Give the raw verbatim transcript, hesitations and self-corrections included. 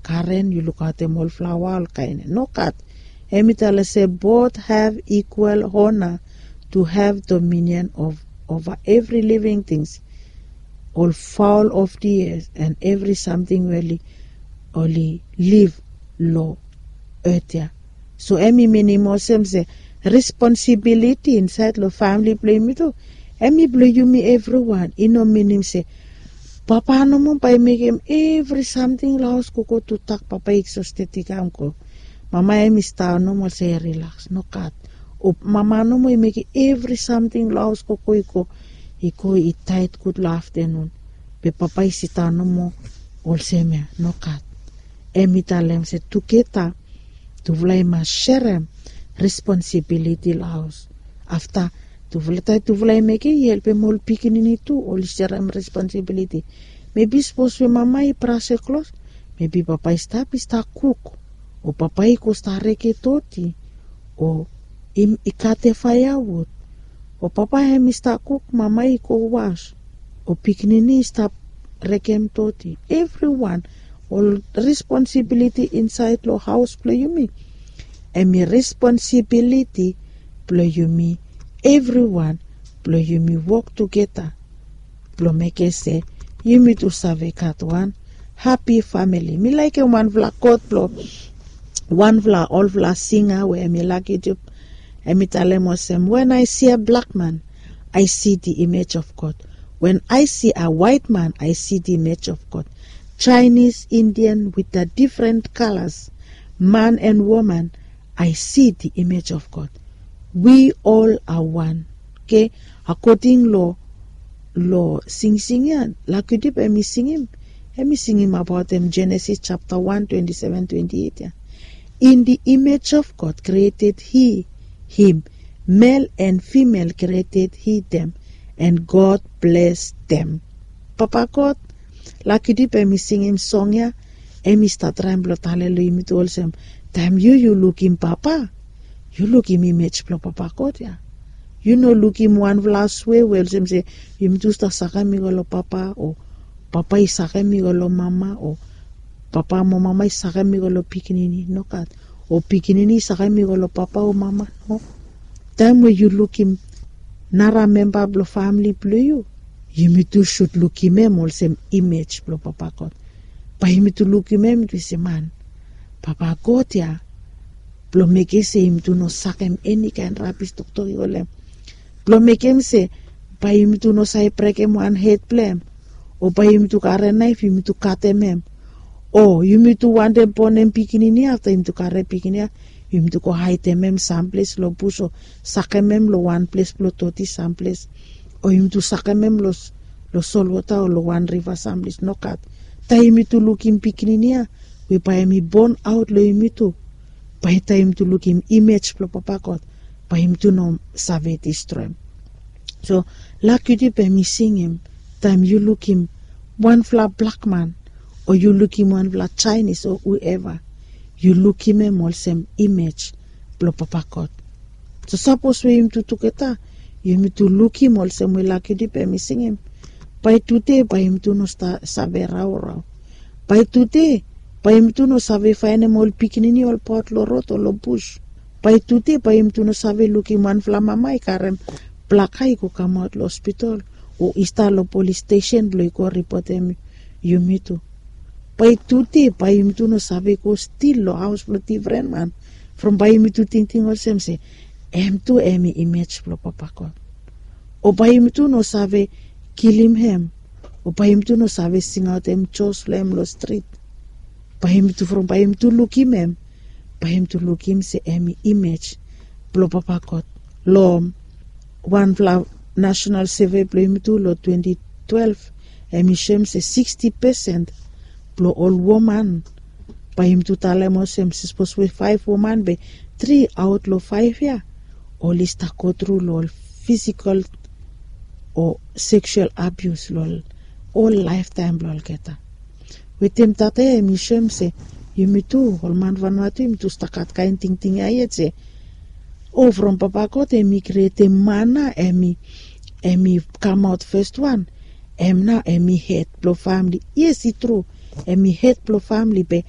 Karen yu lukaotem ol flaoa ol kaen ya nogat. Em i talem se both have equal honor to have dominion of over every living things, ol fowl of the air and every something we oli liv long earth ya. So em i minim olsem se responsibiliti insaed long famili blong yumi tu em i blong yumi evriwan. I no minim se papa nomo bae i mekem evri samting long haos gogo tu tak papa i eksosted i kam go. Mama em i stap nomo olsem i rilaks nogat. O mama nomo i mekem evri samting long haos gogo i go i go i taet gud long aftenun. Be papa i sidaon nomo olsem ya nogat. Em i talem se tugeta tufala i mas serem responsibiliti long haos. Afta tufala taem tufala i mekem i helpem ol pikinini tu oli serem responsibiliti. Mebi sapos we mama i brasem klos mebi papa i stap i stap kuk o papa i go stap reke doti o i katem faeawud o papa hem i stap kuk mama i go was o pikinini i stap rekem doti. Evriwan ol responsibiliti insaed long haos blong yumi. Hem i responsibiliti blong yumi evriwan blong yumi wok tugeta blong mekem se yumi tu save gat wan hapi famili. Mi laekem wanfala kot blong wanfala olfala singa we hem i laki tu hem i talem olsem wen i si a blak man i si di imej of god. Wen i si a waet man i si di imej of god. Chinese indian with a difren kalas man and woman i si di imej of god. We all a wan. Oke. Akoding long long singsing ya lakudip hem i singim hem i singim abaot hem genesis japta wan twenti seven twenti eit ya. In the image of god created he him, male and female created he them, and god bless them. Papa god lakudip hem i singim song ya hem i stap traem blong talem long yumi tu olsem taem yu yu lukim papa yu lukim imej blong papa god ya. Yu no lukim wanfala swe we olsem se yumi tu stap sakem i go long papa o papa i sakem i go long mama o papa mo mama i sakem i go long pikinini nogat o pikinini i sakem i go long papa o mama no. Taem we yu lukim nara memba blong famili blong yu yumi tu sud lukim hem olsem imej blong papa god. Bae yumi tu lukim hem tu se man papa god ya blong mekem se yumi tu no sakem enikaen rabis toktok i go long hem blong mekem se bae yumi tu no save brekem wan hed blong hem o bae yumi tu karem naef yumi tu katem hem o yumi tu wantem bonem pikinini afta yumi tu karem pikinini ya yumi tu go haedem hem samples long bus o sakem hem long wan ples blong doti samples o yumi tu sakem hem long solwota o long wan riva samples nogat. Taem yumi tu lukim pikinini ya we bae hem i bon aot long yumi tu bae taem yumi tu lukim imej blong papa god bae yumi tu no save distroem. So lak yu dip hem i singim taem yu lukim wanfala blakman o yu lukim wanfala jainis o hueva yu lukim hem olsem imej blong papa god. So sapos we yumi tu tugeta yumi tu lukim olsem we lak yu dip hem i singim bae tude bae yumi tu no save raorao. Bae tude bae yumi tu no save faenem ol pikinini olbaot long rod o long bus. Bae tude bae yumi tu no save lukim wanfala mama i karem blaka i go kamaot long hospital o i stap long polis stesen blong i go ripotem yumi tu. Bae tude bae yumi tu no save go stil long haos blong difren man from bae yumi tu tingting olsem se em tu em i imej blong papa god. O bae yumi tu no save kilim hem o bae yumi tu no save singaotem jos blong hem long strit. Bae yumi tu from bae yumi tu lukim hem bae yumi tu lukim se em i imej blong papa god. Long wanfala nasenal seve blong yumi tu long twenti twelef em i soem se siksti pesen blong ol woman bae yumi tu talem olsem sapos we faef woman be tri aot long faef ya oli stap go tru long ol fisikal o seksual abius long ol laeftaem blong olgeta. Wetem tata ya em i soem se yumi tu ol man vanua tu yumi tu stap gat kaen tingting ya yet se o from papa god em i krietem man nao em i kamaot fes wan em nao em i hed blong famili. Yes i tru em i hed blong famili be